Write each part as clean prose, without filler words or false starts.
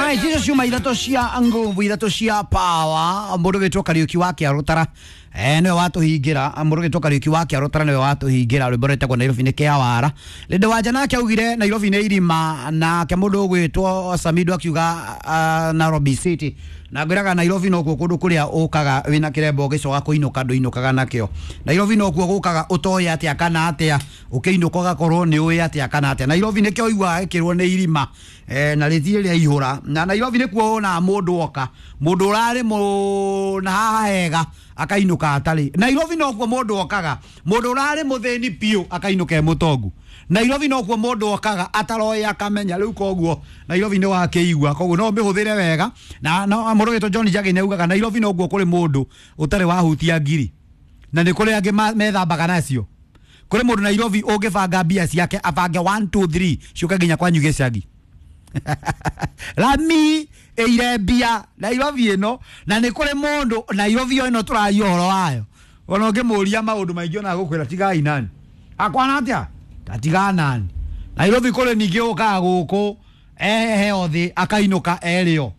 Right, icio ciuma ithatũ cia nguvu, ithatũ cia power. Mũndũ wĩtwo Kariũki wa Kĩarũtara nĩwe watũhingĩra. Mũndũ wĩtwo Kariũki wa Kĩarũtara nĩwe watũhingĩra rwĩmbo rwĩtagwo Nairobi nĩ kĩawara. Lĩndĩ Wanja nake augire Nairobi nĩ irima, nake mũndũ ũgwĩtwo Samido akiuga Nairobi City. Na ngwĩraga Nairobi nokuo kũndũ kũrĩa ũkaga wĩna kĩremba ũgĩcoka kũinũka ndũinũkaga nakĩo. Nairobi nokuo gũkaga ũtoĩ atĩa kana atĩa, ũkĩinũka ũgakorwo nĩ ũĩ atĩa kana atĩa. Nairobi nĩkĩo ũiguaga gĩkĩrwo nĩ irima na rĩtirĩ rĩa ihũra. Na Nairobi nĩkuo wonaga mũndũ oka, mũndũ ũrarĩ na haha hega akainũka atarĩ. Nairobi nokuo mũndũ okaga, mũndũ ũrarĩ mũthĩni biũ akainũka e mũtongu. Nairobi nokuo mũndũ okaga ataroĩ akamenya. Rĩu koguo Nairobi nĩ wakĩigua, koguo no ũmĩhũthĩre wega. Na no mũndũ wĩtwo John Njagi nĩ augaga Nairobi nokuo kũrĩ mũndũ ũtarĩ wahutia ngiri, na nĩ kũrĩ angĩ methambaga nacio. Kũrĩ mũndũ Nairobi ũngĩbanga mbia ciake abange 1 2 3 ciũke nginya kwanyu gĩcagi. Rami ĩire mbia Nairobi ĩno. Na nĩ kũrĩ mũndũ Nairobi ĩno tũraria ũhoro wayo, ona ũngĩmũria maũndũ maingĩ ona agũkwĩra tigai nani akwana atĩa, tatiga nani. Nairobi kũrĩ ningĩ ũkaga gũkũ eheo thĩ akainũka erĩo.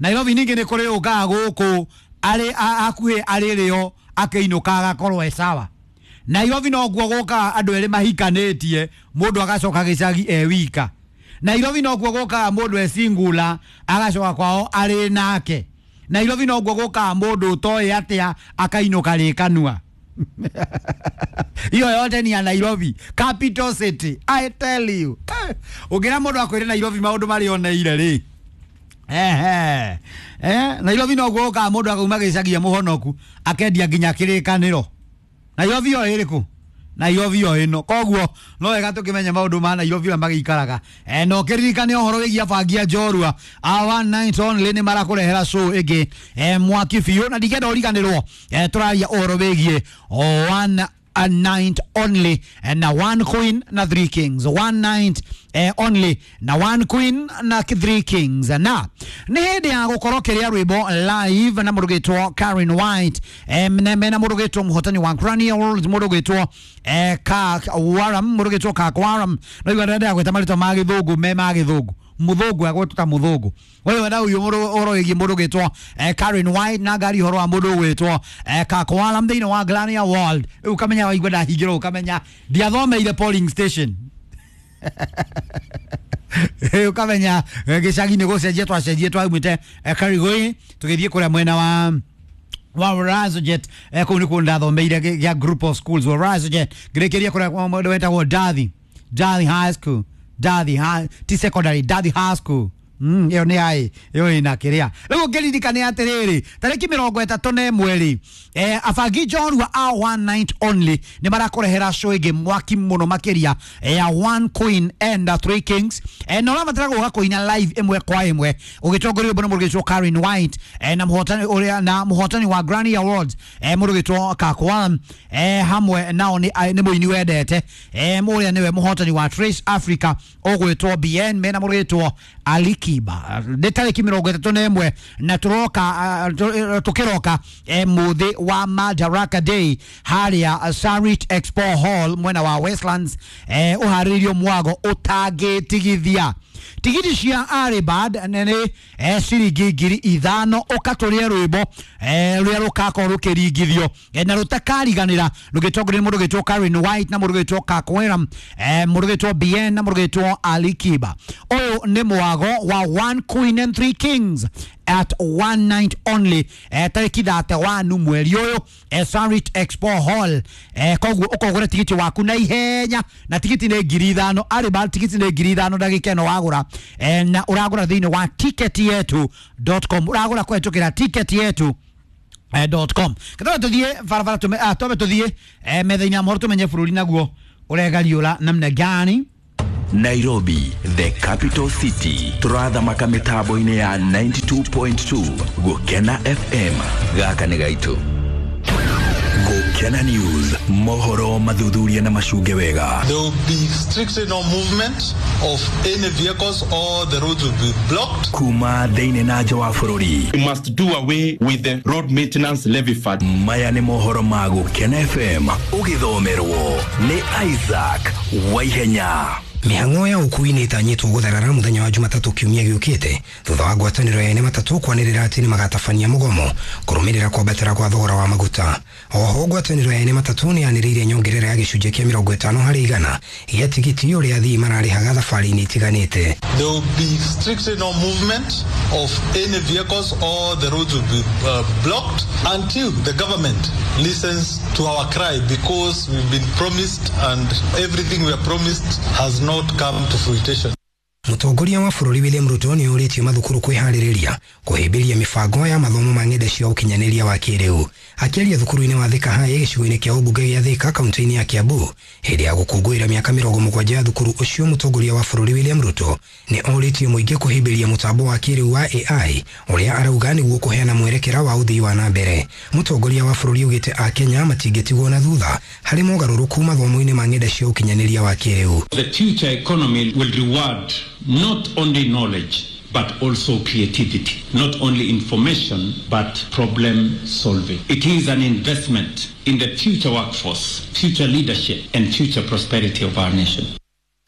Nairobi ningĩ nĩ kũrĩ ũkaga gũkũ arĩ hakuhĩ arĩ rĩo akĩinũka agakorwo e sawa. Nairobi nokuo gũkaga andũ erĩ mahikanĩtie, mũndũ agacoka gĩcagi e wika. Nairobi nokuo gũkaga mũndũ e singula agacoka kwao arĩ nake. Nairobi nokuo gũkaga mũndũ ũtoĩ atĩa akainũka rĩkanua. Hiyo yote ni ya Nairobi capital city, I tell you. Ũngĩra mũndũ akwĩre Nairobi maũndũ marĩa oneire rĩ, ehe Nairobi nokuo gũkaga mũndũ akauma gĩcagi e mũhonoku akendia nginya kĩrĩkanĩro. Nairobi yo ĩrĩkũ? Nairobi yo ĩno. Koguo no wega tũkĩmenye maũndũ ma Nairobi ũrĩa magĩikaraga. No kĩririkane ũhoro wĩgiĩ abangi a njorua a One Night Only nĩ marakũrehera show ĩngĩ mwaki biũ, na ndingĩenda ũriganĩrwo. Tũraria ũhoro wĩgiĩ One a night only na one queen na three kings. One night only na one queen na three kings. Na nĩ hĩndĩ ya gũkorwo kĩrĩa rwĩmbo live na mũndũ ũgwĩtwo Karen White, mena mũndũ ũgwĩtwo mũhotani wa Grammy Awards, mũndũ ũgwĩtwo Kirk Waram, mũndũ ũgwĩtwo Kirk Waram. No igua ndĩrenda gwĩta marĩtwa ma gĩthũngũ me ma gĩthũngũ, mũthũngũ agwĩtwo ta mũthũngũ. Wewe na uyu mũndũ ũhoro wĩgiĩ mũndũ ũgwĩtwo Karen White na ngari ũhoro wa mũndũ ũgwĩtwo Kirk Waram thĩinĩ wa Grammy Award. Rĩu ũkamenya waigua ndahingĩrwo, ũkamenya ndiathomeire polling station. Ũkamenya gĩcagi nĩ gũcenjia twacenjie, twaumĩte Karigoi tũgĩthiĩ kũrĩa mwena wa Razojet. Kũu nĩkuo ndathomeire gĩa group of schools wa Razojet, ngĩrĩkĩria kũrĩa mũndũ wetagwo Dathi, Dathi High School, Dathi High, ti secondary, Dathi High School. Ĩyo nĩ ai ĩyo ĩna kĩrĩa. Rĩu ũngĩririkane atĩrĩrĩ, tarĩki 31 rĩ, abangi njorua a One Night Only nĩ marakũrehera show ĩngĩ mwaki mũno makĩria ya One Queen and Three Kings. Na ũrabatara gũka kũina live ĩmwe kwa ĩmwe ũgĩtongorio nĩ mũndũ ũgwĩtwo Karen White, na mũhotani ũrĩa na mũhotani wa Grammy Awards, mũndũ ũgwĩtwo Kirk Waram, hamwe nao nĩ mũini wendete, ũrĩa nĩwe mũhotani wa Trace Africa ũgwĩtwo BN, mena mũndũ ũgwĩtwo Alikiba. Nĩ tarĩki 31 na tũroka tũkĩroka mũthĩ wa Madaraka Day harĩa Sarit Expo Hall mwena wa Westlands, ũharĩrĩirio mwago ũtangĩtigithia. Tigiti cia Aribad nĩ ciringi 5,000 ũkatũrĩe rwĩmbo rũrĩa rũkakorwo rũkĩringithio na rũtakariganĩra, rũgĩtongorio nĩ mũndũ ũgwĩtwo Karen White na mũndũ ũgwĩtwo Kirk Waram, mũndũ ũgwĩtwo BN na mũndũ ũgwĩtwo Alikiba. Ũyũ nĩ mwago wa One Queen and Three Kings at One Night Only, tarĩki 31 mweri ũyũ, Sarit Expo Hall. Koguo ũkogũra tigiti waku na ihenya, na tigiti nĩ 5,000. Aribad tigiti nĩ 5,000 ndagĩka ĩno wagũra, na ũragũra thĩinĩ wa ticketyetu.com, ũragũra kũhetũkĩra ticketyetu.com. Kataba tũthiĩ barabara, twambe tũthiĩ metha-inĩ ya mohoro tũmenye bũrũri naguo ũregariũra namna gani. Nairobi, the capital city. Turathamaka mitambo-inĩ ya 92.2 Gũkena FM. Gaka nĩ gaitũ. Gũkena News, mohoro mathuthuria na macunge wega. There will be strictly no movement of any vehicles or the roads will be blocked. Kuma thĩinĩ na nja wa bũrũri. We must do away with the road maintenance levy fund. Maya nĩ mohoro ma Gũkena FM ũgĩthomerwo nĩ Isaac Waihenya. Mĩhang'o ya ũkui nĩ ĩtanyĩtwo gũtharara mũthenya wa Jumatatũ kiumia gĩũkĩte thutha wa ngwatanĩro ya ene matatũ kwanĩrĩra atĩ nĩ magatabania mũgomo kũrũmĩrĩra kwambatĩra kwa thogora wa maguta. Oho ngwatanĩro ya ene matatũ nĩ yanĩrĩire nyongerera ya gĩcunjĩ kĩa 50% gĩa tigiti ũrĩa athii mararĩhaga thabarĩ-inĩ itiganĩte. There will be strictly no movement of any vehicles or the roads will be blocked until the government listens to our cry, because we've been promised and everything we are promised has not come to fruition. Mũtongoria wa bũrũri William Ruto nĩ ũrĩtie mathukuru kwĩharĩrĩria kũhĩmbĩria mĩbango ya mathomo ma ng'enda cia ũkinyanĩria wa kĩrĩu. Akĩaria thukuru-inĩ wa Thika High gĩcigo-inĩ kĩa ũmbunge gĩa Thika kaunti-inĩ ya Kiambu hĩndĩ ya gũkũngũĩra mĩaka 70 ya thukuru ũcio, mũtongoria wa bũrũri William Ruto nĩ orĩtie mũingĩ kũhĩmbĩria mũtambo wa kĩrĩu wa AI ũrĩa arauga nĩguo kũheana mwerekera wa ũthii wa na mbere. Mũtongoria wa bũrũri augĩte Akenya matingĩtigwo na thutha harĩ mogarũrũku mathomo-inĩ ma ng'enda cia ũkinyanĩria wa kĩrĩu. The future economy will reward not only knowledge but also creativity, not only information but problem solving. It is an investment in the future workforce, future leadership and future prosperity of our nation.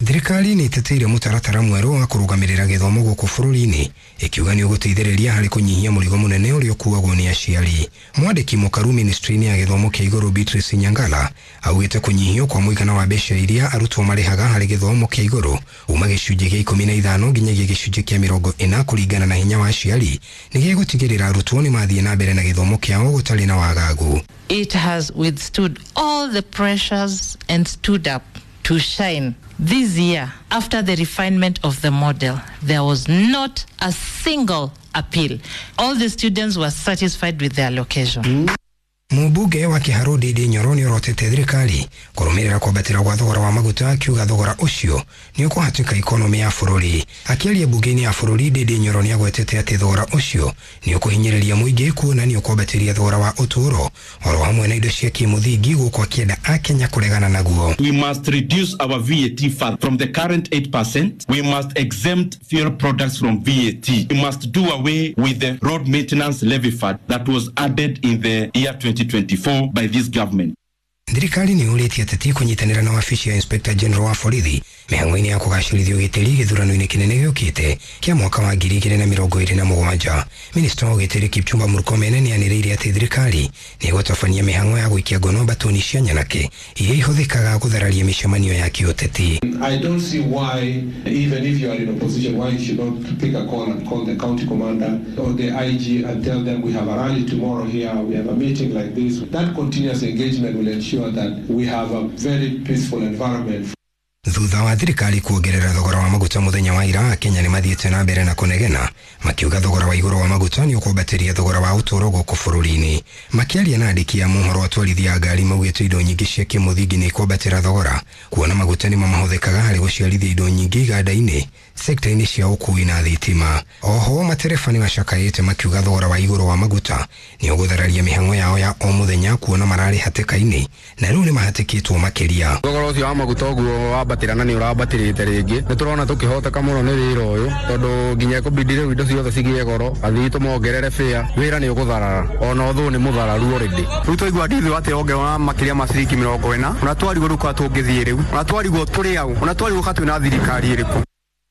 Thirikari nĩ ĩteteire mũtaratara mwerũ wa kũrũgamĩrĩra gĩthomo gũkũ bũrũri-inĩ ĩkiuga nĩ ũgũteithĩrĩria harĩ kũnyihia mũrigo mũnene ũrĩa ũkuagwo nĩ aciari. Mwandĩki mũkaru ministry-inĩ ya gĩthomo kĩa igũrũ Beatrice Nyangala augĩte kũnyihio kwa mũigana wa mbeca iria arutwo marĩhaga harĩ gĩthomo kĩa igũrũ kuma gĩcunjĩ gĩa 15 nginyagia gĩcunjĩ kĩa 40 kũringana na hinya wa aciari nĩ gĩgũtigĩrĩra arutwo nĩ mathiĩ na mbere na gĩthomo kĩao gũtarĩ na wagagu. It has withstood all the pressures and stood up to shine. This year, after the refinement of the model, there was not a single appeal. All the students were satisfied with their allocation. Mũmbunge wa Kiharu Ndindi Nyoro nĩ orotete thirikari kũrũmĩrĩra kwambatĩra gwa thogora wa maguta akiuga thogora ũcio nĩ ũkũhatĩka ikonomĩ ya bũrũri. Akĩaria mbunge-inĩ ya bũrũri, Ndindi Nyoro nĩ agwetete atĩ thogora ũcio nĩ ũkũhinyĩrĩria mũingĩ kuona nĩ ũkwambatĩria thogora wa ũtũũro oro hamwe na indo cia kĩmũthingi gũkũ akĩenda Akenya kũregana naguo. We must reduce our VAT fund from the current 8%. We must exempt fuel products from VAT. We must do away with the road maintenance levy fund that was added in the year 2024 by this government. Thirikari nĩ yũrĩtie ateti kũnyitanĩra na wabici ya Inspector General wa borithi mĩhang'o-inĩ ya kũgacĩrithia ũgitĩri gĩthurano-inĩ kĩnene gĩũkĩte kĩa mwaka wa 2027. Minista wa ũgitĩri Kipchumba Murkomen nĩ anĩrĩire atĩ thirikari nĩ ĩgũtabania mĩhang'o ya gũikia ngono mbatoni cia nyanake iria ihũthĩkaga gũthararia mĩcemanio ya kĩũteti. I don't see why, even if you are in opposition, why you should not pick a call and call the county commander or the IG and tell them we have a rally tomorrow here, we have a meeting like this. That continuous engagement will ensure that we have a very peaceful environment. Thutha wa thirikari kuongerera thogora wa maguta mũthenya wa ira, Kenya nĩ mathiĩte na mbere na kũnegena makiuga thogora wa igũrũ wa maguta nĩ ũkwambatĩria thogora wa ũtũũro gũkũ bũrũri-inĩ. Makĩaria na andĩki a mohoro, atwarithia a ngari maugĩte indo nyingĩ cia kĩmũthingi nĩ ikwambatĩra thogora kuona maguta nĩmo mahũthĩkaga harĩ gũciarithia indo nyingĩ iganda-inĩ, sekta-inĩ cia ũkui na thitima. Oho matereba nĩ macakaĩte makiuga thogora wa igũrũ wa maguta nĩ ũgũthararia mĩhang'o yao ya o mũthenya kuona mararĩ hatĩka-inĩ na rĩu nĩ mahatĩkĩtwo makĩria. Thogora ũcio wa maguta ũguo wambatĩra na nĩ ũrambatĩrĩte rĩngĩ, nĩ tũrona tũkĩhoteka mũno nĩ wĩra ũyũ tondũ nginya ĩkũbidi rĩu indo ciothe cigĩe goro, athii tũmongerere fare, wĩra nĩ ũgũtharara ona ũthũ nĩ mũthararu already. Rĩu twaigua ndithi atĩ ongerera makĩria ma ciringi 40, ona twarigwo rĩu kwa tũngĩthiĩ rĩu, ona twarigwo tũrĩ au, ona twarigwo ka twĩna thirikari ĩrĩkũ.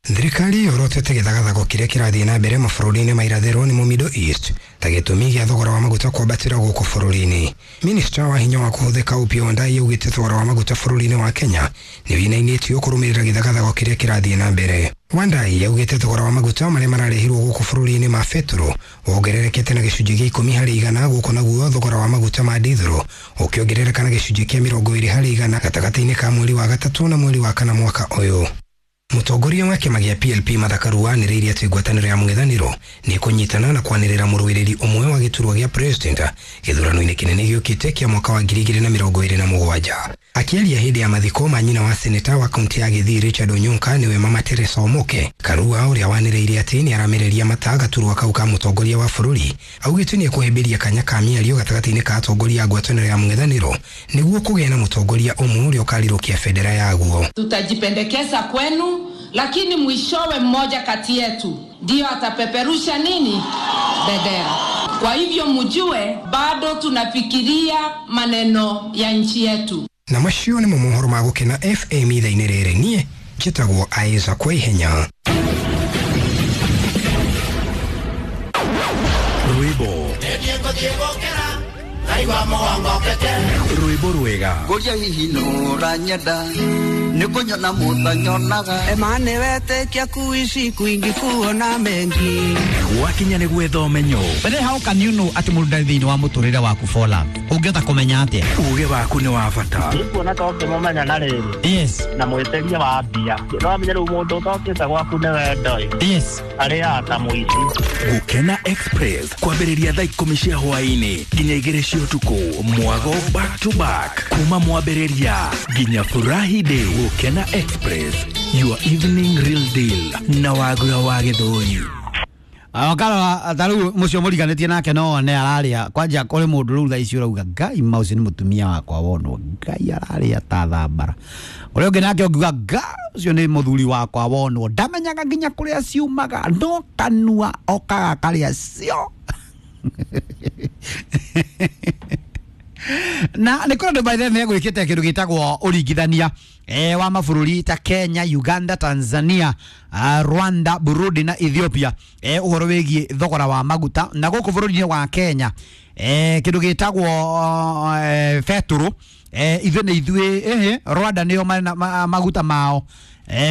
Thirikari yorotete gĩthagathago kĩrĩa kĩrathiĩ na mbere mabũrũri-inĩ ma irathĩro nĩmo Middle East ta gĩtũmi gĩa thogora wa maguta kwambatĩra gũkũ bũrũri-inĩ. Minista wa hinya wa kũhũthĩka Opiyo Wandayi augĩte thogora wa maguta bũrũri-inĩ wa Kenya nĩ wĩinainĩtio kũrũmĩrĩra gĩthagathago kĩrĩa kĩrathiĩ na mbere. Wandayi augĩte thogora wa maguta marĩa mararehirwo gũkũ bũrũri-inĩ ma betũrũ wongererekete na gĩcunjĩ gĩa 10% gũkũ naguo thogora wa maguta ma dithũrũ ũkĩongerereka na gĩcunjĩ kĩa 20% gatagatĩ-inĩ ka mweri wa gatatũ na mweri wa kana mwaka ũyũ. Mũtongoria wa kĩama gĩa PLP Martha Karua anĩrĩire atĩ ngwatanĩro ya mũng'ethanĩro nĩ ĩkũnyitana na kwanĩrĩra mũrũĩrĩri ũmwe wa gĩturwa gĩa president gĩthurano-inĩ kĩnene gĩũkĩte kĩa mwaka wa 2027. Akĩaria hĩndĩ ya mathiko ma nyina wa seneta wa kaunti ya Gĩthii Richard Onyonka nĩwe Mama Teresa Omoke, Karua ũrĩa wanĩrĩire atĩ nĩ aramereria mata gaturwa kau ka mũtongoria wa bũrũri augĩte nĩ ekũhĩmbĩria kanya ka mĩario gatagatĩ-inĩ ka atongoria a ngwatanĩro ya mũng'ethanĩro nĩguo kũgĩe na mũtongoria ũmwe ũrĩa ũkarirũkia bendera yaguo. Tutajipendekeza kwenu, lakini mwishowe mmoja kati yetu ndio atapeperusha nini bendera. Kwa hivyo mjue bado tunafikiria maneno ya nchi yetu. Na macio nĩmo mohoro ma Gũkena FM ithaa-inĩ rĩrĩ. Niĩ Njĩtagwo Isaac Waihenya. Rwĩmbo rwĩmbo rwega Ngoria hihi nũranyenda nĩ kũnyona mũtanyonaga Emane wetekia kuishi kwingi kuona mengi gwakinya nĩ gwetha ũmenyo. But then how can you know atĩ mũndũ ndarĩ thĩinĩ wa mũtũrĩre waku for love? Ũngĩhota kũmenya atĩa? Uge waku nĩ wa bata. Kuona ta ũngĩmũmenya na rĩrĩ. Yes. Na mwĩtĩria wa mbia. No amenye rĩu mũndũ ũtokĩte gwaku nĩ wendo ĩ. Yes. Arĩaga ta mũici. Gũkena Express kwambĩrĩria thaa 10 cia hwaĩ-inĩ nginya 2 cia ũtukũ, mwago back to back kuma mwambĩrĩria nginya furahi day. Gũkena Express, your evening real deal na Wagura wa Gĩthũri. Wakara ta rĩu mũcio mũriganĩtie nake no one ararĩa kwanja kũrĩ mũndũ rĩu thaa ici ũrauga Ngai ma ũcio nĩ mũtumia wakwa wonwo Ngai ararĩa ta thambara. Ũrĩa ũngĩ nake ũngiuga Ngai ũcio nĩ mũthuri wakwa wonwo ndamenyaga nginya kũrĩa ciumaga no kanua okaga karĩa cio. Na nĩ kũrĩ andũ by the way megwĩkĩte kĩndũ gĩtagwo ũringithania wa mabũrũri ta Kenya, Uganda, Tanzania, Rwanda, Burundi na Ethiopia ũhoro wĩgiĩ thogora wa maguta. Na gũkũ bũrũri-inĩ wa Kenya kĩndũ gĩtagwo betũrũ ithuĩ nĩ ithuĩ Rwanda nĩo maguta mao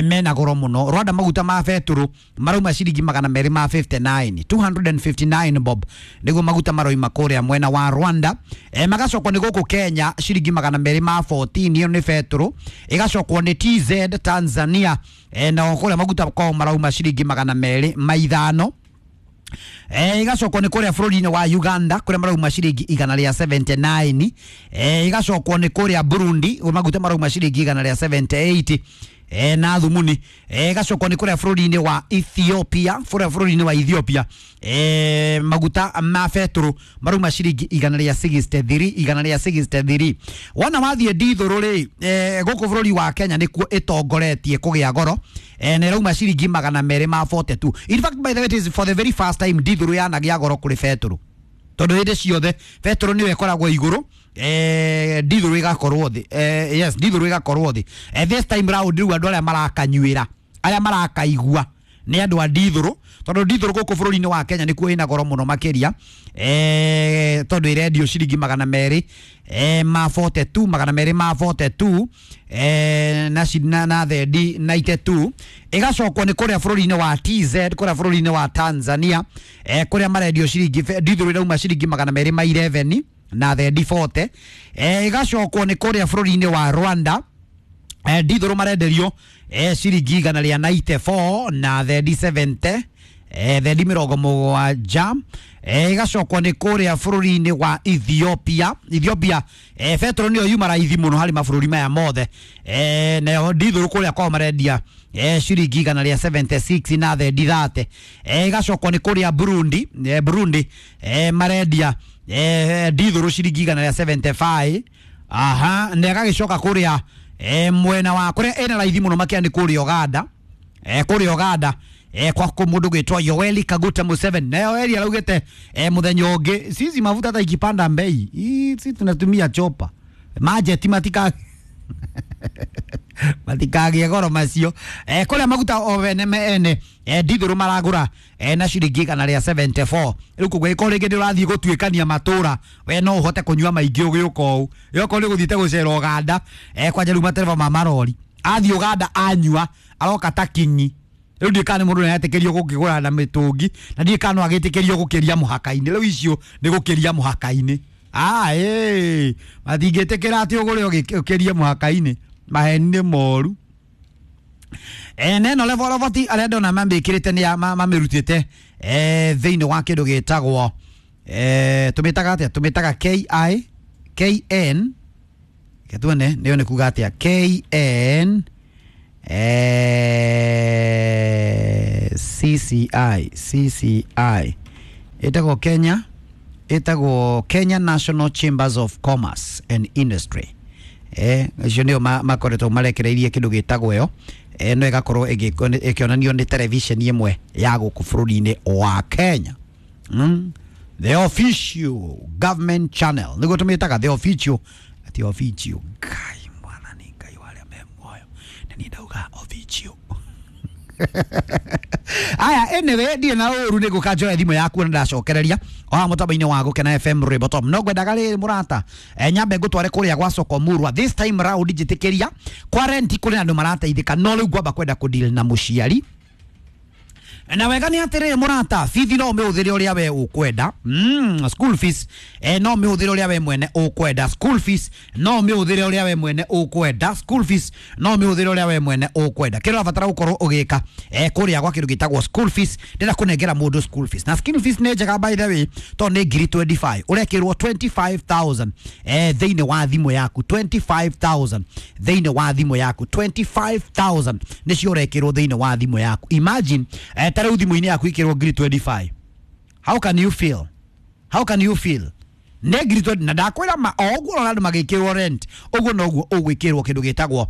mena goro mũno. Rwanda maguta ma betũrũ marauma ciringi 259, 259 bob nĩguo maguta maroima kũrĩa mwena wa Rwanda. Magacokwo nĩ gũkũ Kenya ciringi 214, ĩyo nĩ betũrũ. Ĩgacokwo nĩ TZ Tanzania, nao kũrĩa maguta kwao marauma ciringi 205. Igacokwo nĩ kũrĩa bũrũri-inĩ wa Uganda kũrĩa marauma ciringi 179. Igacokwo nĩ kũrĩa Burundi maguta marauma ciringi 178 na thumuni. Igacokwo nĩ kũrĩa bũrũri-inĩ wa Ethiopia, kũrĩa bũrũri-inĩ wa Ethiopia maguta ma betũrũ marauma ciringi 163, 163. Wona wathiĩ ndithũrũ rĩ, gũkũ bũrũri wa Kenya nĩkuo ĩtongoretie kũgĩa goro, na ĩrauma ciringi 242. In fact, by the way, it is for the very first time ndithũrũ yanagĩa goro kũrĩ betũrũ, tondũ hĩndĩ ciothe betũrũ nĩyo ĩkoragwo igũrũ, ndithũrũ ĩgakorwo thĩ. Yes, ndithũrũ ĩgakorwo thĩ. This time round rĩu andũ arĩa marakanyuĩra, arĩa marakaigua nĩ andũ a ndithũrũ, tondũ ndithũrũ gũkũ bũrũri-inĩ wa Kenya nĩkuo ĩna goro mũno makĩria, tondũ ĩrendio ciringi 242, 242 na thendi 92. Ĩgacokwo nĩ kũrĩa bũrũri-inĩ wa TZ, kũrĩa bũrũri-inĩ wa Tanzania, kũrĩa marendio ciringi ndithũrũ ĩrauma ciringi 211 na thendi 40. Ĩgacokwo nĩ kũrĩa bũrũri-inĩ wa Rwanda, ndithũrũ marenderio ciringi 194 na thendi 70, thendi 70. Ĩgacokwo nĩ kũrĩa bũrũri-inĩ wa Ethiopia. Ethiopia betũrũ nĩyo yuma raithi mũno harĩ mabũrũri maya mothe, nayo ndithũrũ kũrĩa kwao marendia ciringi 176 na thendi 30. Ĩgacokwo nĩ kũrĩa Burundi, Burundi marendia ndithũrũ ciringi 175. Aha, na ĩgagĩcoka kũrĩa mwena wa kũrĩa ĩna raithi mũno makĩria nĩ kũrĩa Uganda, kũrĩa Uganda kwa mũndũ gwĩtwo Yoweri Kaguta Museveni. Na Yoweri araugĩte mũthenya ũngĩ sisi mafuta hata ikipanda bei sisi tunatumia chopa majeti matikagĩe goro macio. Kũrĩa maguta o ene ene ndithũrũ maragũra na ciringi 174. Rĩu koguo ĩkorwo rĩngĩ ndũrathiĩ gũtuĩkania matũra, we no ũhote kũnyua maingĩ ũgĩũka ũũ. Ĩokorwo nĩ ũgũthiĩte gũcera Uganda, kwanja rĩu matereba ma marori athiĩ Uganda anyua aroka ta kinyi. Rĩu ndiũĩ kana nĩ mũndũ nĩaretĩkĩrio gũkĩgũra na mĩtũngi, na ndiũĩ kana no agĩtĩkĩrio gũkĩria mũhaka-inĩ. Rĩu icio nĩ gũkĩria mũhaka-inĩ. Matingĩtĩkĩra atĩ ũgũre ũkĩrie mũhaka-inĩ, maheni nĩ moru. Neno level arĩa ndona mamĩkĩrĩte nĩ mamĩrutĩte thĩinĩ wa kĩndũ gĩtagwo tũmĩtaga atĩa, tũmĩtaga KI KN, tuone nĩyo nĩ kuga atĩa, KN CCI, CCI ĩtagwo Kenya, ĩtagwo Kenya National Chambers of Commerce and Industry. Icio nĩo makoretwo marekereirie kĩndũ gĩtagwo ĩyo, no ĩgakorwo ĩkĩonanio nĩ televisheni ĩmwe ya gũkũ bũrũri-inĩ wa Kenya. The official government channel nĩguo tũmĩtaga the official, ati official. Ngai mwathani Ngai wa arĩa me muoyo, nĩ Na niĩ ndauga Ovichio. Aya, anyway, ndiĩ na ũru nĩ ngũka njoe thimũ yaku na ndacokereria o haha mũtambo-inĩ wa Gũkena FM Rwĩmbo Top. No ngwendaga rĩrĩ mũrata, nyambe ngũtware kũrĩa gwa soko Murwa. This time round njĩtĩkĩria kwa rent kũrĩ na andũ marateithĩka, no rĩu ngwamba kwenda kũdeal na mũciari. Na wega nĩ atĩrĩrĩ mũrata, bithi no ũmĩhũthĩre ũrĩa we ũkwenda. School fees no ũmĩhũthĩre ũrĩa we mwene ũkwenda. School fees no ũmĩhũthĩre ũrĩa we mwene ũkwenda. School fees no ũmĩhũthĩre ũrĩa we mwene ũkwenda. Kĩrĩa ũrabatara gũkorwo ũgĩka kũrĩa gwa kĩndũ gĩtagwo school fees, ndĩrenda kũnengera mũndũ school fees. Na school fees nĩ njega by the way, tondũ nĩ ngiri 25. Ũrekĩrwo 25,000 thĩinĩ wa thimũ yaku, 25,000 thĩinĩ wa thimũ yaku, 25,000 nĩcio ũrekĩrwo thĩinĩ wa thimũ yaku. Imagine ta rĩu thimũ-inĩ yaku ikĩrwo ngiri 25. How can you feel? How can you feel? Nĩ ngiri 20 na ndakwĩra ma o ũguo ũrona andũ magĩkĩrwo rent, ũguo noguo ũgwĩkĩrwo kĩndũ gĩtagwo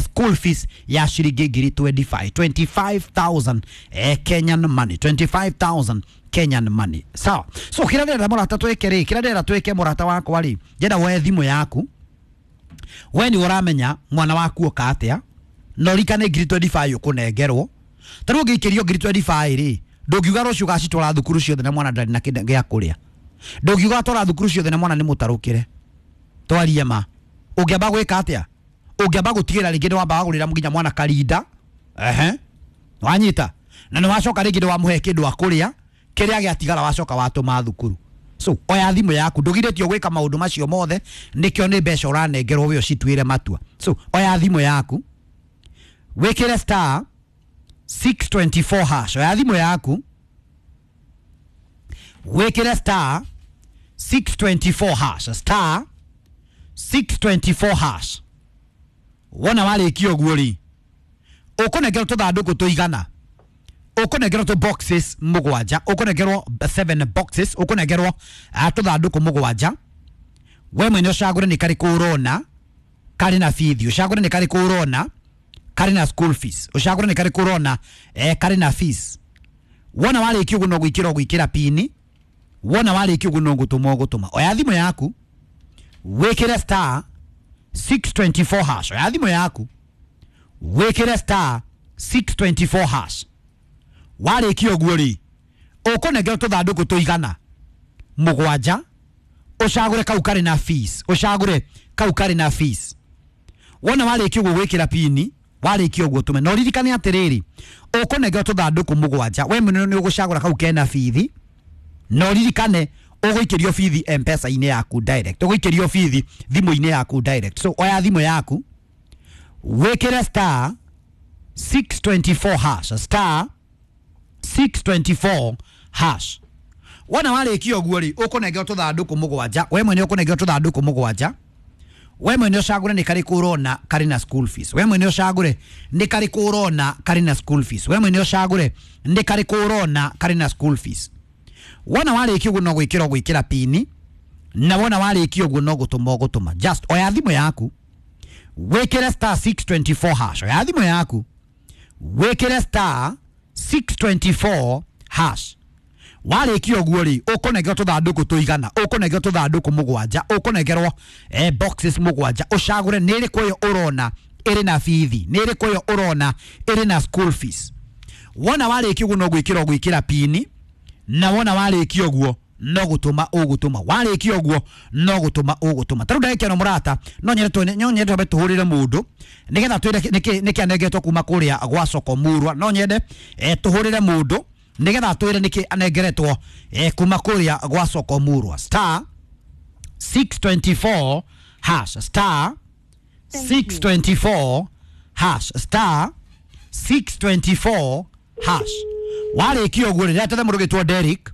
school fees ya ciringi ngiri 25, 25,000 Kenyan money, 25,000 Kenyan money. Sawa. So kĩrĩa ndĩrenda mũrata twĩke rĩ, kĩrĩa ndĩrenda twĩke mũrata wakwa rĩ, ndĩrenda woe thimũ yaku. We nĩ ũramenya mwana waku oka atĩa, na ũririkane ngiri 25 ũkũnengerwo. Ta rĩu ũngĩikĩrio ngiri 25 rĩ, ndũngiuga rũciũ ũgacitwara thukuru ciothe na mwana ndarĩ na kĩndũ gĩa kũrĩa. Ndũngiuga atwara thukuru ciothe na mwana nĩ mũtarũkĩre. Twarie ma. Ũngĩamba gwĩka atĩa? Ũngĩamba gũtigĩra rĩngĩ nĩ wamba wagũrĩra nginya mwana karinda. Ehe. Wanyita. Na nĩ wacoka rĩngĩ nĩ wamũhe kĩndũ akũrĩa, kĩrĩa gĩatigara wacoka watũma thukuru. So oya thimũ yaku, ndũgirĩtio gwĩka maũndũ macio mothe, nĩkĩo nĩ mbeca ũranengerwo we ũcituĩre matua. So oya thimũ yaku, wĩkĩre star 624 hash. Oya thimũ yaku, wĩkĩre star 624 hash, star 624 hash. Wona warĩkia ũguo rĩ, ũkũnengerwo tũthandũkũ tũigana, ũkũnengerwo tũ boxes mũgwanja, ũkũnengerwo 7 boxes, ũkũnengerwo tũthandũkũ mũgwanja. We mwene ũcagũre nĩ karĩkũ ũrona karĩ na bithi, ũcagũre nĩ karĩkũ ũrona karĩ na school fees, ũcagũre nĩ karĩkũ ũrona karĩ na fees. Wona warĩkia ũguo no gwĩkĩra ũgwĩkĩra pini. Wona warĩkia ũguo no gũtũma ũgũtũma. Oya thimũ yaku, wĩkĩre star 624 hash. Oya thimũ yaku, wĩkĩre star 624 hash. Warĩkia ũguo rĩ, ũkũnengerwo tũthandũkũ tũigana mũgwanja, ũcagũre kau karĩ na fees, ũcagũre kau karĩ na fees. Wona warĩkia ũguo gwĩkĩra pini, warĩkia ũguo tũme. Na ũririkane atĩrĩrĩ, ũkũnengerwo tũthandũkũ mũgwanja, we mwene nĩ ũgũcagũra kau kena bithi, na ũririkane ũgũikĩrio bithi M-Pesa-inĩ yaku direct, ũgũikĩrio bithi thimũ-inĩ yaku direct. So oya thimũ yaku, wĩkĩre star 624 hash, star 624 hash. Wona warĩkia ũguo rĩ, ũkũnengerwo tũthandũkũ mũgwanja, we mwene ũkũnengerwo tũthandũkũ mũgwanja. We mwene ũcagũre nĩ karĩkũ ũrona karĩ na school fees. We mwene ũcagũre nĩ karĩkũ ũrona karĩ na school fees. We mwene ũcagũre nĩ karĩkũ ũrona karĩ na school fees. Wona warĩkia ũguo no gwĩkĩra ũgwĩkĩra pini, na wona warĩkia ũguo no gũtũma ũgũtũma. Just oya thimũ yaku, wĩkĩre star 624 hash. Oya thimũ yaku, wĩkĩre star 624 hash. Warĩkia ũguo rĩ, ũkũnengerwo tũthandũkũ tũigana, ũkũnengerwo tũthandũkũ mũgwanja, ũkũnengerwo boxes mũgwanja, ũcagũre nĩ ĩrĩkũ ĩyo ũrona ĩrĩ na bithi, nĩ ĩrĩkũ ĩyo ũrona ĩrĩ na school fees. Wona warĩkia ũguo no gwĩkĩra ũgwĩkĩra pini, na wona warĩkia ũguo no gũtũma ũgũtũma. Warĩkia ũguo no gũtũma ũgũtũma. Ta rĩu ndagĩka ĩno mũrata, no nyende twambe tũhũrĩre mũndũ nĩgetha twĩre nĩkĩ anengeretwo kuma kũrĩa gwa soko Murwa. No nyende tũhũrĩre mũndũ nĩgetha twĩre nĩkĩ anengeretwo kuma kũrĩa gwa soko Murwa. Star 624 hash, star 624 hash, star 624 hash. Warĩkia ũguo rĩ, ndĩratete mũndũ ũgĩtwo Derrick.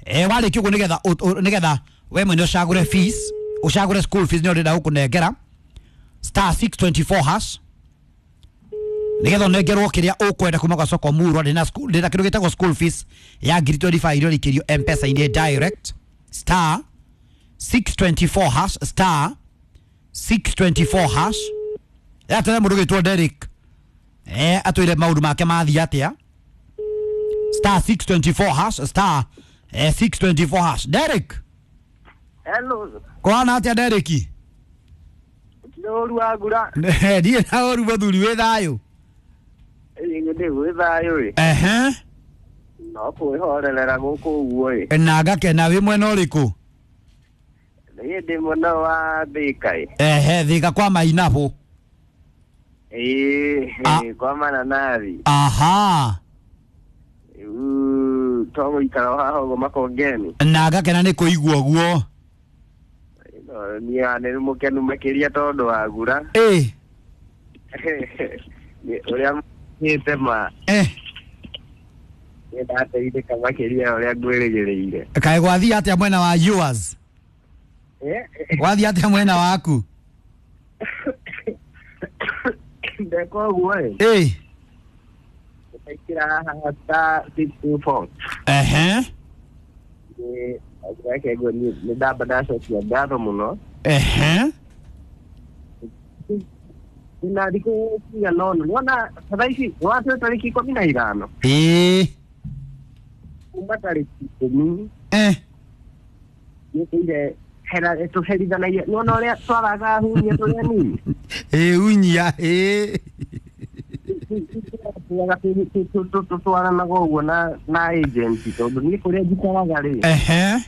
Warĩkia ũguo nĩgetha we mwene ũcagũre fees, ũcagũre school fees nĩyo ndĩrenda gũkũnengera star 624 hash, nĩgetha ũnengerwo kĩrĩa ũkwenda kuma gwa soko Murwa. Ndĩna school, ndĩna kĩndũ gĩtagwo school fees ya ngiri 25 iria ũrĩkĩrio M-Pesa-inĩ direct. Star 624 hash, star 624 hash. Atwĩre mũndũ ũgĩtwo Derrick, atwĩre maũndũ make mathiĩ atĩa. Star 624 hash, star 624 hash. Derrick. Hello. Kũhana atĩa Derrick? Ũru wa ngura. Ndiĩ na ũru mũthuri, wĩ thayũ? Ĩ, ndĩ gwĩ thayũ ĩ. Ehe. No kwĩhorerera gũkũ ũguo ĩ. Na ngakena. Wĩ mwena ũrĩkũ? Niĩ ndĩ mwena wa Thika ĩ. Ehe, Thika kwa mainabũ? Ĩ, kwa mananathi. Aha. Rĩu togũikara o haha ũguo Makongeni. Na ngakena nĩ kũigua ũguo. No, niĩ nĩ mũkenu makĩria tondũ wa ngura. Ĩ. Nĩ ũrĩa mĩte ma. Eh. Nĩ ndateithĩka makĩria ya ũrĩa ngwĩrĩgĩrĩire. Kaĩ gwathiĩ atĩa mwena wa yours? Gwathiĩ atĩa mwena waku? Ndeka ũguo ĩ. Ĩ. Ndaikĩra haha *624. Ehe. Reke nguo nĩ ndamba ndacokia ngatho mũno. Ehe. Na thikũ cigana ũna nĩwona thaa ici watũ tarĩki 15. Ĩ. Kuma tarĩki 10. Eh. Nĩtũire hera tũherithanagia, nĩwona ũrĩa twaraga hunyia tũrĩ anini. Ĩ, unyia ĩ. Tũtwaranaga ũguo na agent tondũ niĩ kũrĩa njikaraga rĩ. Ehe.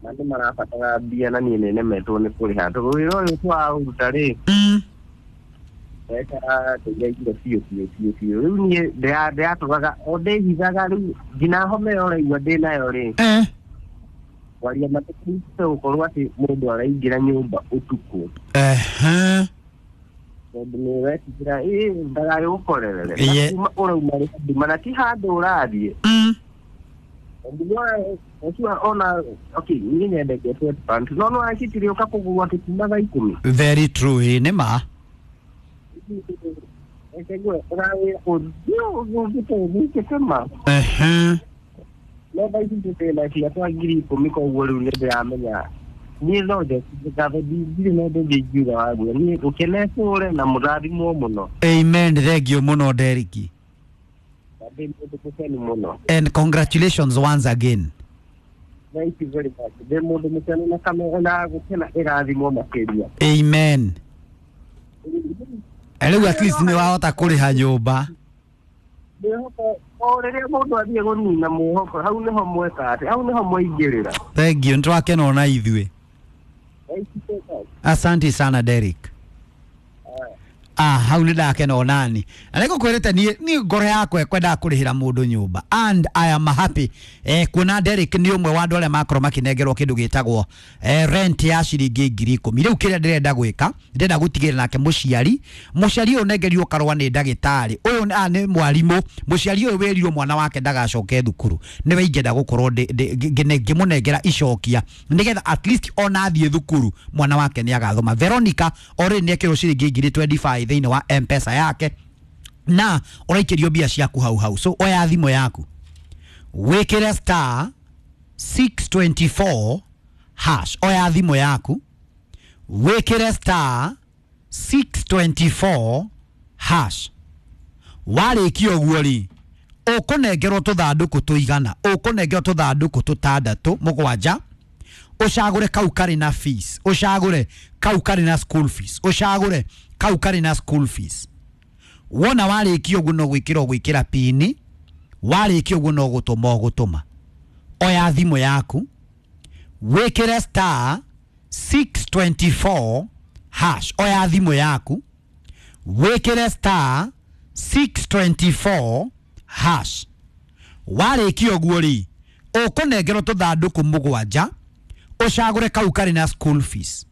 Andũ marabatara mbia na niĩ nĩnemetwo nĩ kũrĩha tondũ wĩra ũyũ twaũruta rĩ, mbeca tũiraigire biũ biũ biũ biũ. Rĩu niĩ ndĩratũraga o ndĩhithaga, rĩu nginya homa ĩyo ũraigua ndĩnayo rĩ, kwaria matũkĩte gũkorwo atĩ mũndũ araingĩra nyũmba ũtukũ. Ehe. Tondũ nĩ ũretigĩra ĩ ndagagĩgũkorerere. Na kuma ũrauma rĩ nduma na ti handũ ũrathiĩ. Tondũ ũcio ona okay, niĩ nyendete sweatpants no no acitire ũka kũgũrwo atĩ kuma thaa 10. Very true, ĩ nĩ ma. Reke ngue ũrawĩra ũthiũ ũgĩte ũthikĩte ma. Ehe. No thaa ici twĩna cia twa 10,000, koguo rĩu nĩ ndĩramenya niĩ no njokie ngatho, ndirĩ na ũndũ ũngĩ ingiuga wa guo. Niĩ ũkenetũre na mũrathimwo mũno. Amen, thank you mũno, Derek. Na ndĩ mũndũ mũkenu mũno. And congratulations once again. Thank you very much. Ndĩ mũndũ mũkenu na kamera na gũkena ĩrathimwo makĩria. Amen. Rĩu at least nĩ wahota kũrĩha nyũmba. Mwĩhoko o rĩrĩa mũndũ athiĩ kũnina mwĩhoko, hau nĩho mweka atĩ hau nĩho mwaingĩrĩra. Thank you, nĩtwakena ona ithuĩ. Thank you so much. Asante sana, Derek. Ah, hau nĩ ndakena onani na nĩ ngũkwĩrĩte niĩ ngoro yakwa ĩkwendaga kũrĩhĩra mũndũ nyũmba, and I am happy kuona Derek nĩ ũmwe wa andũ arĩa makorwo makĩnengerwo kĩndũ gĩtagwo rent ya ciringi 10,000. Rĩu kĩrĩa ndĩrenda gwĩka, ndĩrenda gũtigĩrĩra nake mũciari ũyũ ũnengerirwo karũa nĩ ndagĩtarĩ ũyũ nĩ mwarimũ, mũciari ũyũ wĩrirwo mwana wake ndagacoke thukuru, nĩwe ingĩenda gũkorwo ngĩmũnengera icokia nĩgetha at least ona athiĩ thukuru mwana wake nĩ agathoma. Veronica already nĩ ekĩrwo ciringi 25,000 thĩinĩ wa M-Pesa yake na ũraikĩrio mbia ciaku hau hau. So oya thimũ yaku, wĩkĩre *624#. Oya thimũ yaku, wĩkĩre *624#. Warĩkia ũguo rĩ, ũkũnengerwo tũthandũkũ tũigana, ũkũnengerwo tũthandũkũ tũtandatũ mũgwanja, ũcagũre kau karĩ na fees, ũcagũre kau karĩ na school fees, ũcagũre kau karĩ na school fees. Wona warĩkia ũguo no gwĩkĩra ũgwĩkĩra pini, warĩkia ũguo no gũtũma ũgũtũma. Oya thimũ yaku, wĩkĩre *624#. Oya thimũ yaku, wĩkĩre *624#. Warĩkia ũguo rĩ, ũkũnengerwo tũthandũkũ mũgwanja, ũcagũre kau karĩ na school fees.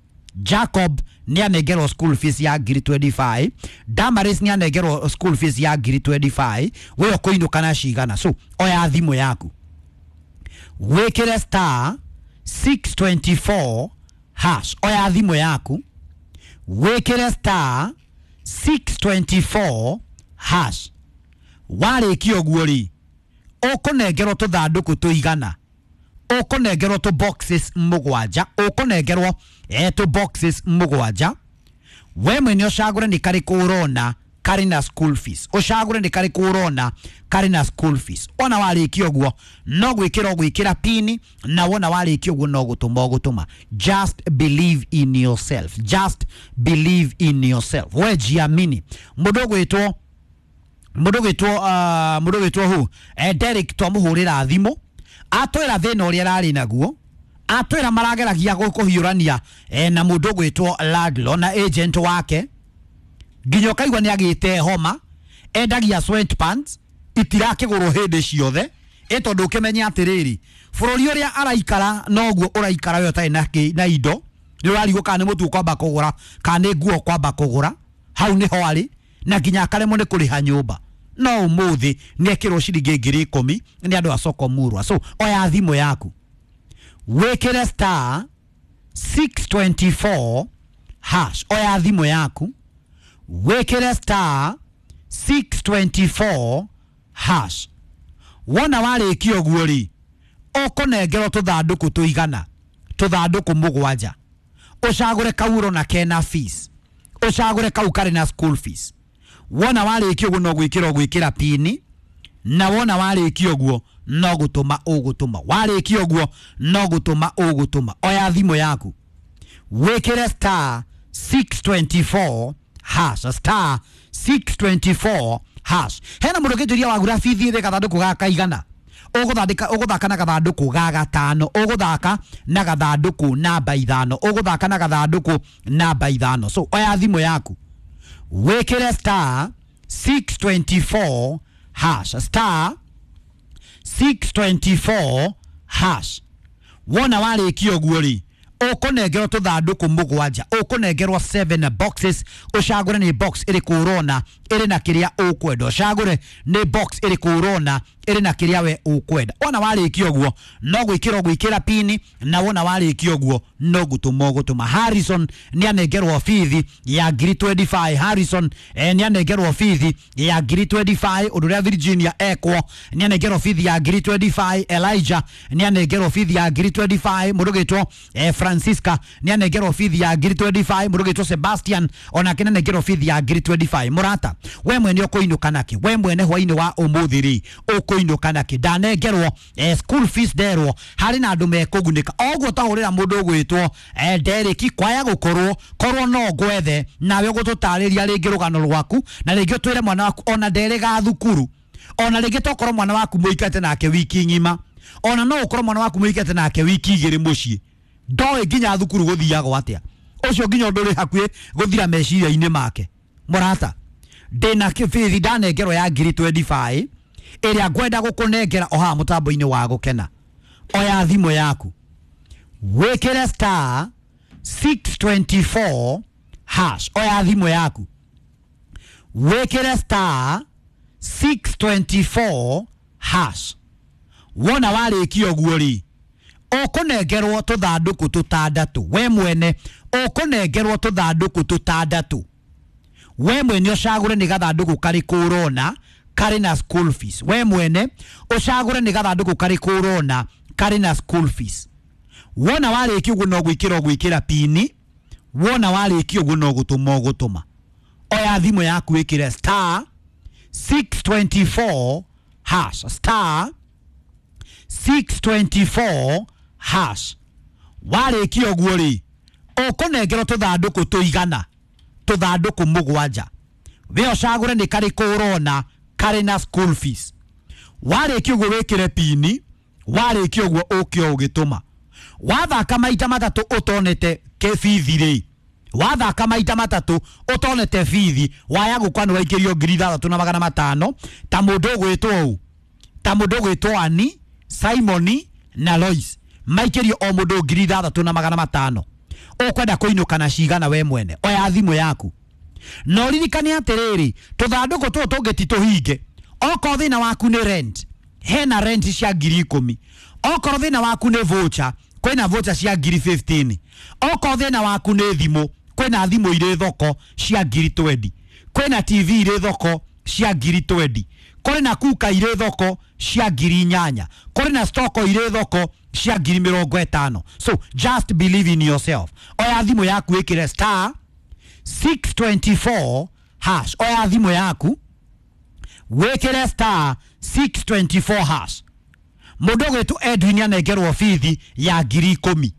Jacob nĩ anengerwo school fees ya 25,000, Damaris nĩ anengerwo school fees ya 25,000, we ũkũinũka na cigana? So oya thimũ yaku, wĩkĩre *624#. Oya thimũ yaku, wĩkĩre *624#. Warĩkia ũguo rĩ, ũkũnengerwo tũthandũkũ tũigana, ũkũnengerwo tũ boxes mũgwanja, ũkũnengerwo tũ boxes mũgwanja, we mwene ũcagũre nĩ karĩkũ ũrona. karĩ na school fees. Ũcagũre nĩ karĩkũ ũrona karĩ na school fees. Wona warĩkia ũguo no gwĩkĩra ũgwĩkĩra pini, na wona warĩkia ũguo no gũtũma ũgũtũma. Just believe in yourself, just believe in yourself. We jiamini. Mũndũ ũgwĩtwo mũndũ ũgwĩtwo hu Derek twamũhũrĩra thimũ atwĩra thĩna ũrĩa ararĩ naguo, atwĩra marageragia kũhiũrania na mũndũ ũgwĩtwo Ladlo na agent wake, nginya ũkaigua nĩ agĩte homa, endagia sweatpants itirakĩgũrwo hĩndĩ ciothe, ĩ tondũ ũkĩmenye atĩrĩrĩ, bũrũri ũrĩa araikara noguo ũraikara we ũtarĩ na indo, nĩ ũrarigwo kana nĩ mũtu ũkwamba kũgũra kana nĩ nguo ũkwamba kũgũra. Hau nĩho arĩ, na nginya akaremwo nĩ kũrĩha nyũmba. No ũmũthĩ nĩ ekĩrwo ciringi 10,000 nĩ andũ a soko murwa. So oya thimũ yaku wĩkĩre star 624 hash. Oya thimũ yaku wĩkĩre star 624 hash. Wona warĩkia ũguo rĩ, ũkũnengerwo tũthandũkũ tũigana, tũthandũkũ 7. Ũcagũre kau ũrona kena fees, ũcagũre kau karĩ na school fees. Wona warĩkia ũguo no gwĩkĩra ũgwĩkĩra pini, na wona warĩkia ũguo no gũtũma ũgũtũma. Warĩkia ũguo no gũtũma ũgũtũma. Oya thimũ yaku wĩkĩre star 624 hash, star 624 hash. Hena mũndũ ũngĩnjũria wagura bithi thĩ gathandũkũ ga kaigana, ũgũthaka na gathandũkũ ga 5, ũgũthaka na gathandũkũ namba 5, ũgũthaka na gathandũkũ namba 5. So oya thimũ yaku wĩkĩre star 624 hash, star 624 hash. Wona warĩkia ũguo rĩ, ũkũnengerwo tũthandũkũ 7, ũkũnengerwo 7 boxes. Ũcagũre nĩ box ĩrĩkũ ũrona ĩrĩ na kĩrĩa ũkwenda, ũcagũre nĩ box ĩrĩkũ ũrona ĩrĩ na kĩrĩa we ũkwenda. Wona warĩkia ũguo no gwĩkĩra ũgwĩkĩra pini, na wona warĩkia ũguo no gũtũma ũgũtũma. Harrison nĩ anengerwo bithi ya 25,000. Harrison nĩ anengerwo bithi ya 25,000. Ũndũ ũrĩa Virginia ekwo nĩ anengerwo bithi ya 25,000. Elijah nĩ anengerwo bithi ya 25,000. Mũndũ ũgwĩtwo Francisca nĩ anengerwo bithi ya 25,000. Mũndũ ũgwĩtwo Sebastian onake nĩ anengerwo bithi ya 25,000. Mũrata, we mwene ũkũinũka nakĩ? We mwene hwainĩ wa ũmũthĩ rĩ, ũkũinũka nakĩ? Ndanengerwo school fees nderwo harĩ na andũ mekũgunĩka. Oguo twahũrĩra mũndũ ũgwĩtwo Derek, kwaya gũkorwo korwo no ngwethe nawe ũgũtũtarĩria rĩngĩ rũgano rwaku, na rĩngĩ ũtwĩre mwana waku ona nderĩga thukuru, ona rĩngĩ tokorwo mwana waku mũikarĩte nake wiki ng'ima, ona no ũkorwo mwana waku mũikarĩte nake wiki 2 mũciĩ, ndoĩ nginya thukuru gũthiagwo atĩa, ũcio nginya ũndũ ũrĩ hakuhĩ gũthira meciria-inĩ make. Mũrata, ndĩna bithi ndanengerwo ya 25,000 ĩrĩa ngwenda gũkũnengera o haha mũtambo-inĩ wa gũkena. Oya thimũ yaku wĩkĩre star 624 hash. Oya thimũ yaku wĩkĩre star 624 hash. Wona warĩkia ũguo rĩ, ũkũnengerwo tũthandũkũ 6. We mwene ũkũnengerwo tũthandũkũ 6. We mwene ũcagũre nĩ gathandũkũ karĩkũ ũrona karĩ na school fees. We mwene ũcagũre nĩ gathandũkũ karĩkũ ũrona karĩ na school fees. Wona warĩkia ũguo no gwĩkĩra ũgwĩkĩra pini, wona warĩkia ũguo no gũtũma ũgũtũma. Oya thimũ yaku wĩkĩre star 624 hash, star 624 hash. Warĩkia ũguo rĩ, ũkũnengerwo tũthandũkũ tũigana, tũthandũkũ 7. We ũcagũre nĩ karĩkũ ũrona karĩ na school fees. Warĩkia ũguo wĩkĩre pini, warĩkia ũguo ũke ũgĩtũma. Wathaka maita 3 ũtonete kĩbithi rĩ, wathaka maita 3 ũtonete bithi, waya gũkwa nĩ waikĩrio 6,500 ta mũndũ ũgwĩtwo ũũ, ta mũndũ ũgwĩtwo Ani, Simoni na Lois, maikĩrio o mũndũ 6,500. Ũkwenda kũinũka na cigana we mwene? Oya thimũ yaku na ũririkane atĩrĩrĩ, tũthandũkũ tũtũ tũngĩ ti tũhinge. Okorwo thĩna waku nĩ rent, hena rent cia 10,000. Okorwo thĩna waku nĩ voucher, kwĩna voucher cia 15,000. Okorwo thĩna waku nĩ thimũ, kwĩna thimũ irĩ thoko cia 20,000, kwĩna TV irĩ thoko cia 20,000, kũrĩ na kuka irĩ thoko cia 8,000, kũrĩ na stoko irĩ thoko cia 50,000. So just believe in yourself. Oya thimũ yaku wĩkĩre star 624 hash. Oya thimũ yaku wĩkĩre star 624 hash. Mũndũ ũgwĩtwo Edwin anengerwo bithi ya 10,000,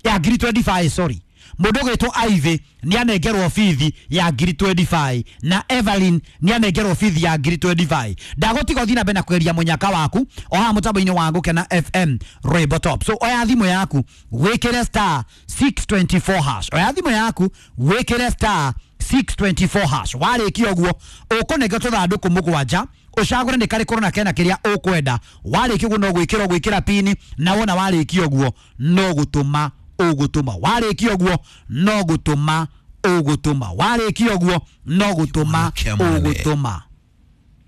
ya 25,000, sorry. Mũndũ ũgwĩtwo Ivy nĩ anengerwo bithi ya 25,000 na Evelyn nĩ anengerwo bithi ya 25,000. Ndagũtiga ũthiĩ na mbere na kũgeria mũnyaka waku o haha mũtambo-inĩ wa Gũkena FM Rwĩmbo Top. So oya thimũ yaku wĩkĩre star 624 hash. Oya thimũ yaku wĩkĩre star 624 hash. Warĩkia ũguo ũkũnengerwo tũthandũkũ 7, ũcagũre nĩ karĩkũ na kena kĩrĩa ũkwenda. Warĩkia ũguo no gwĩkĩra ũgwĩkĩra pini, na wona warĩkia ũguo no gũtũma ũgũtũma. Warĩkia ũguo no gũtũma ũgũtũma. Warĩkia ũguo no gũtũma ũgũtũma.